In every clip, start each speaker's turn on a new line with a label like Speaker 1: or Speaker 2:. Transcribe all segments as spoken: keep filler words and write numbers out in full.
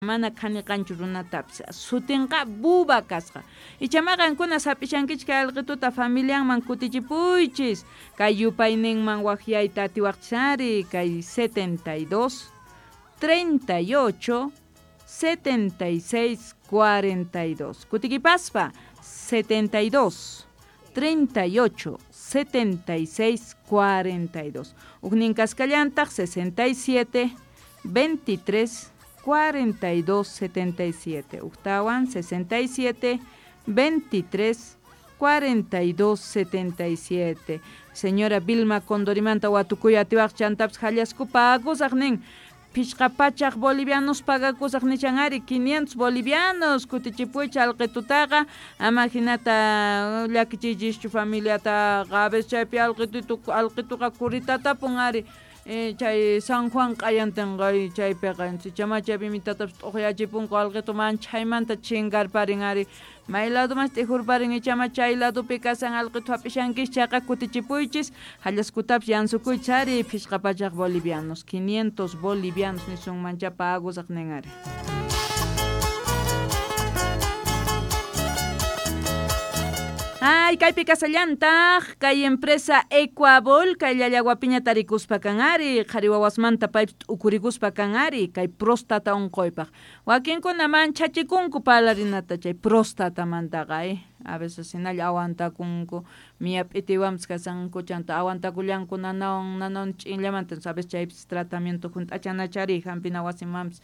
Speaker 1: Mana khaniqanchu runatapis sutinqa buba kasqa ichama qankuna sap'ishankichik kay alqituta familianman kutichipuychis kay yupayninman waqyayta atiwaqchis ari kay setenta y dos, treinta y ocho, setenta y seis, cuarenta y dos kutikipaspa setenta y dos, treinta y ocho, setenta y seis, cuarenta y dos uknin kaskallantaq sesenta y siete, veintitrés, cuarenta y dos, setenta y siete Octawan sesenta y siete, veintitrés, cuarenta y dos, setenta y siete. Señora Vilma Condorimanta watukuy atiwaq chantapis hallasku pagusaq nin phishqa pachaq bolivianos pagakusaq nichan ari quinientos bolivianos kutichipuycha alqitutaqa ama hinata llakichiychischu familiataqa a veces chaypi alqitutu alqituqa kuritatapun ari chay San Juan q'ayantinqa chaypiqa chama chaypi mitatapis t'uqyachipunku alqitu manchaymanta chinkarparin ari may ladumas t'ijurparin ichama chay ladupi kasan alqitu hap'ishankis chayqa kutichipuychis hallaskutapis yansukuychis ari phishqa pachaq bolivianos quinientos bolivianos nisunmancha pagusaq nin ari. Ay, kaypi kasallantaq kay empresa Ecuabol kay llallawapiña tarikuspa kan ari qhari wawasmanta paypis t'ukurikuspa kan ari kay próstata unquypaq wakinkuna manchachikunku parlarinata chay próstatamantaqa eh a veces hinalla aguantakunku miya p'itiwanpis kasanku chanta aguantakullanku nanawan nanawan ch'inllamanta sabes chaypis tratamiento hunt'achanachari hampina wasimanpis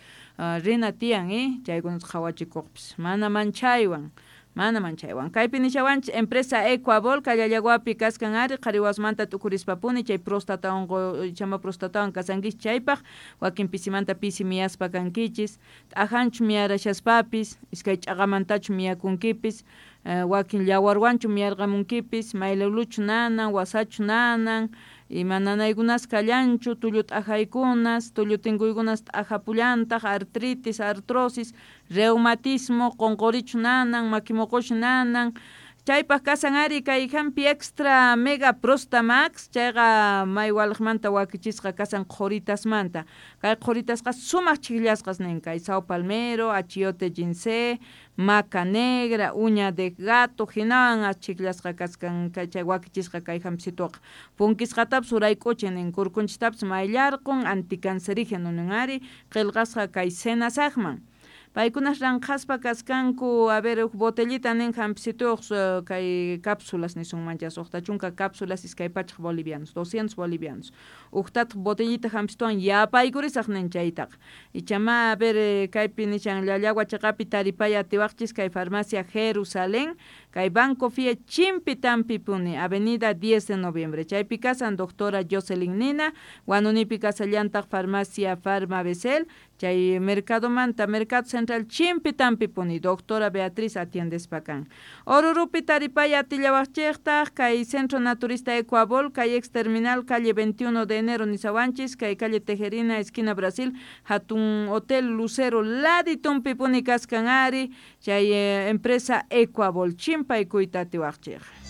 Speaker 1: rina tiyan eh chaykunata qhawachikuqpis mana manchaywan mana manchaywan kaypi nishawanchis empresa Ecuabol kay llallawapi kaskan ari qhari wawasmanta t'ukurispapuni chay próstata unquy chama prostatawan kasankichis chaypaq wakin pisimanta pisi miyaspa kankichis t'ajanchu miyarashaspapis iskay ch'aqamantachu miyakunkipis wakin llawarwanchu miyarqamunkipis mayluluchu nanan wasachu nanan ima nanaykunas kallanchu tullu t'ajaykunas tullu tinkuykunas t'ajapullantaq artritis artrosis reumatismo qonqorichu nanan makimoqochu nanan chaypaq kasan ari kay hampi extra mega prostamax chayqa may waliqmanta wakichisqa kasan qhuritasmanta kay qhuritasqa sumaq chijllasqas nin kay sao palmero achiote ginseng maca negra uña de gato hinawan chijllasqa kaskan chay wakichisqa kay hampisituqa punkisqatapis urayk'uchin nin kurkunchistapis mayllarqun anticancerígeno nin ari qillqasqa kay senasaqman paykunas ranqhaspa kaskanku a ver huk botellita nin hampisituyuq kay cápsulas nisunmancha suqta chunka cápsulas iskay pachaq bolivianos doscientos bolivianos uqtataq botellita hampisituwan yapaykurisaq nin chaytaqa ichama a ver kaypi nishan llallawa chaqapi taripay atiwaqchis kay farmacia Jerusalén kay Banco Fie Chimpi Tampipuni avenida diez de noviembre chaypi kasan doctora Jocelyn Nina Wanunipi kasallantaq farmacia Farmabecel chay mercado manta mercado central Chimpi Tampipuni doctora Beatriz atiendespa kan Orurupi taripay atillawaqchiqtaq kay Centro Naturista Ecuabol kay ex terminal calle veintiuno de enero nisawanchis kay calle Tejerina esquina Brasil hatun hotel Lucero laditunpipuni kaskan ari chay eh, empresa Ecuabol chimpaykuyta atiwaqchiq.